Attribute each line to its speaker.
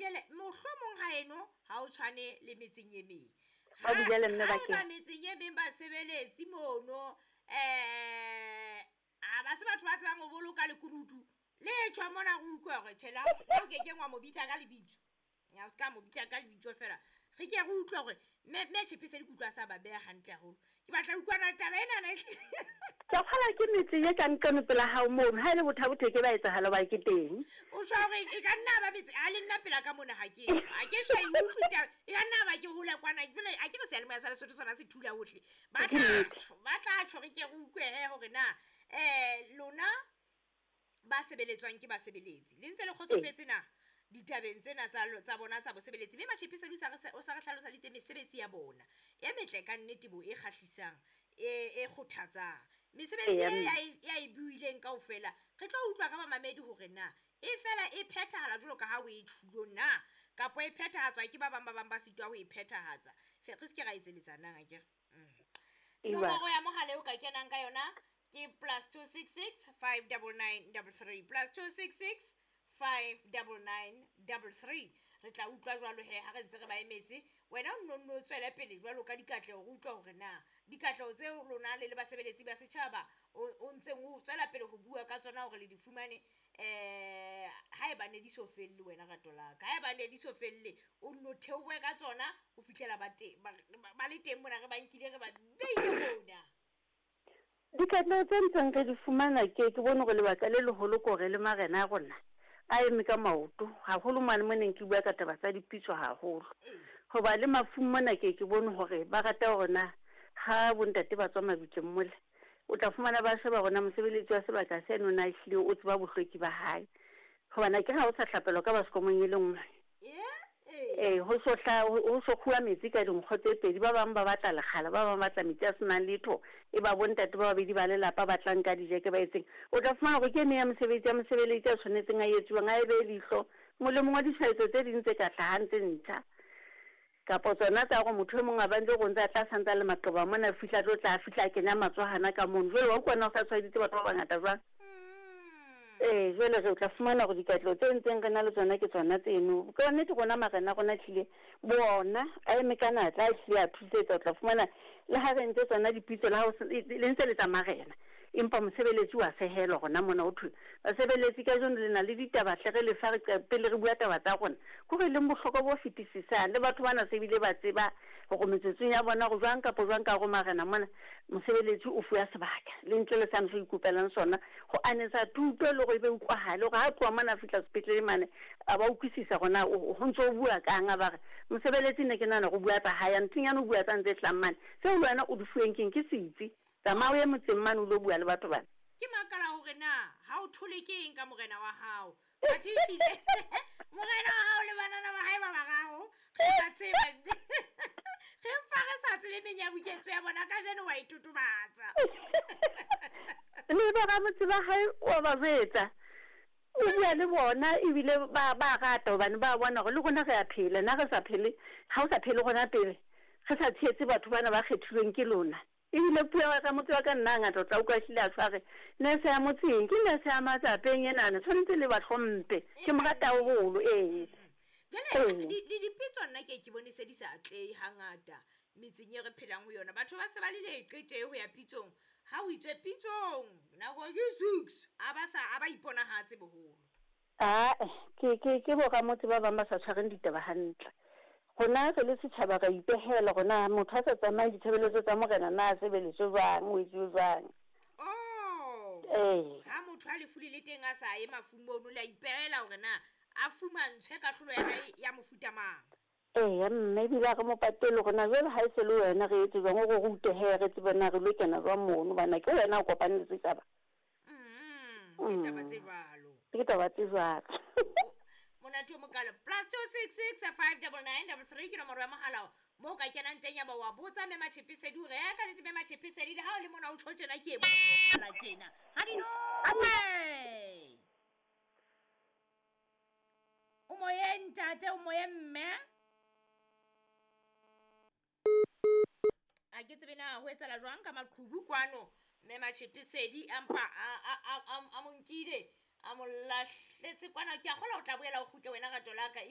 Speaker 1: Mabidele, mohlomong ha eno ha o tshwane le metseng e meng.
Speaker 2: Mabidele mme
Speaker 1: Ha
Speaker 2: bakeng.
Speaker 1: eba metseng e meng basebeletsi mono a ba se batho ba tsebang ho boloka lekunutu le tjho mona re utlwe hore tjhe le ha o kekeng wa mo bitsa ka lebitso. Ya o ska mo bitsa ka lebitso fela. Re ke re utlwe hore mme Tjhepese ke utlwa sa ba beha hantle haholo. Ke batla ho utlwa na taba ena na ehlile.
Speaker 2: Ke kgola ke metse e ka nqane pela hao mono, ha e le bothabothe ke ba etsahala hoba ke teng.
Speaker 1: O tjho hore e ka nna ba metse a le nna pela ka mona ha ke ha ke so e utlwe taba. E ka nna ba ke hole kwana jwale a ke re seyalemoya sa Lesotho sona se thula hohle. Ba tla tjho, ba tla tjho re ke re utlwe he hore na lona ba sebeletswang ke basebeletsi le ntse le kgotsofetse na ditabeng tsena tsa bona tsa bosebeletsi. Mme Matjhepese o sa re hlalosaditse mesebetsi ya bona e metle ka nnete bo e kgahlisang e kgothatsang. Mesebetsi e ya e buileng kaofela re tlo utlwa ka bamamedi hore na e fela e phethahala jwalo ka ha o e tjhulo na kapa e phethahatswa ke ba bang ba bang ba sitwa ho e phethahatsa. Re se ke ra etseletsana akere. Nomoro ya mohala eo ka kenang ka yona ke +266 599 33 +266 599 33. Re tla utlwa jwalo he ha re ntse re ba emetse. Wena o nno nno tswele pele jwalo ka dikatleho, re utlwa hore na dikatleho tseo lona le le basebeletsi ba setjhaba o ntseng o tswela pele ho bua ka tsona hore le di fumane. Ha eba ne di so felle wena rato la ka, ha eba ne di so felle o nno theohe ka tsona ho fihlela ba teng ba le teng mona re ba nkile re ba beile mona.
Speaker 2: Dikatleho tse ntseng re di fumana ke bone hore lebaka le leholo ke hore le marena a rona a eme ka maoto haholo mane mo neng ke bua ka taba tsa dipitso haholo. Hoba le mafung mona ke bone hore ba rata hore na ha bontate ba tswa mabitleng mole o tla fumana ba sheba hore na mosebeletsi wa sebaka seno na ehlile o tseba bohlweki ba hae. Hobane akere ha o sa hlapelwa ka baskomong e le nngwe. Ho so hla ho so kguwa metsi ka dinkgo tse pedi, ba bang ba batla lekgala, ba bang ba batla metsi a senang letho. E ba bontate ba babedi ba lelapa ba tla nka dijeke ba etseng. O tla fumana hore ke ene ya mosebetsi ya mosebeletsi a tshwanetseng a etsuwang a e behe leihlo molemong wa ditshwaetso tse ding tse ka hlahang tse ntjha. Kapa tsona tsa hore motho e mong a ba ntse go ntse a tla santsa le maqeba mona fihla tlo tla fihla a kenya matsohana ka mono. Jwale wa utlwa na o sa tshwaeditse batho ba bangata jwang? Jwale re tla fumana hore dikatleho tse ntseng re na le tsona ke tsona tseno. Ka nnete rona marena a rona ehlile bona a eme ka natla, a ehlile a thusetsa. O tla fumana le ha re entse tsona dipitso le ha le ntse le tsa marena, empa mosebeletsi wa sehelwa rona mona ho thwe basebeletsi kajeno le na le ditaba hle re lefa re pele re bua taba tsa rona. Kore leng bohlokwa bo fetisisang le batho bana se bile ba tseba hore metsotsong ya bona hore jwang kapa jwang ka hore marena mona mosebeletsi o fuwa sebaka le ntle le sane se ikopelang sona ho anetsa thuto le hore e be utlwahale hore ha tloha mona a fihla sepetlele mane a ba utlwisisa hore na ho ntso o bua kang. A ba re mosebeletsi ne ke nahana hore o bua tsa hae, nthonyana o bua tsa ntse hlang mane tseo le wena o di fuweng keng ke setsi. Tsamaya o ye motseng mane o lo bua le batho bana.
Speaker 1: Ke makala hore na ha o thole ke eng ka morena wa hao. Athe ehlile morena wa hao le banana ba hae ba bararo re ba tseba. Re mpa re sa tsebe menyabuketso ya bona kajeno wa e totobatsa.
Speaker 2: Le ba ramotse ba hae wa ba jwetsa. O bua le bona ebile ba rata hobane ba bona hore le rona re a phela. Na re sa phele, ha o sa phele rona pele re sa tshehetse batho bana ba kgethilweng ke lona. Ebile puo ya ramotse wa ka nna ngata o tla utlwa ehlile a tshware nurse ya motseng ke nurse ya matsapeng enana tshwanetse le ba hlomphe. Ke mo rata haholo ee.
Speaker 1: Jwale le dipitso nna ke bone se di sa atlehe hangata metseng e re phelang ho yona. Batho ba se ba le leqe ho ya pitsong. Ha o itswe pitsong nako ke 6 a ba sa a ba iponahatse boholo.
Speaker 2: Ke bo ramotse ba bang ba sa tshwareng ditaba hantle. Rona re le setjhaba ra ipehela hore na motho a sa tsamaye ditshebeletso tsa morena na a sebeletswe jwang, o etsuwe jwang.
Speaker 1: Oh. Ha motho a lefu le le teng a sa ye mafung mono le a ipehela hore na a fumantshwe kahlolo ya hae ya mofuta mang.
Speaker 2: Eya mme ebile ha re mo patele hore na jwale ha e se le wena re etse jwang, o re rute he re tsebe na re lo kena jwang mono hobane ke wena o kopane le setjhaba.
Speaker 1: Ke taba tse jwalo.
Speaker 2: Ke taba tse jwalo.
Speaker 1: Monate o mokalo. +266 599 33 ke nomoro ya mohala mo ka kenang teng ya ba wa botsa mme Matjhepesedi hore ya ka nnete mme Matjhepesedi le ha o le mona o tjho tjena ke e bona tjena. Ha di nowe. O moyeng ntate, o moyeng mme. A ke tsebe na ho etsahala jwang ka maqhubu kwano. Mme Matjhepesedi a mpa a mo nkile a mo lahletse kwana. Ke a kgolwa o tla boela o kgutle wena rato la ka.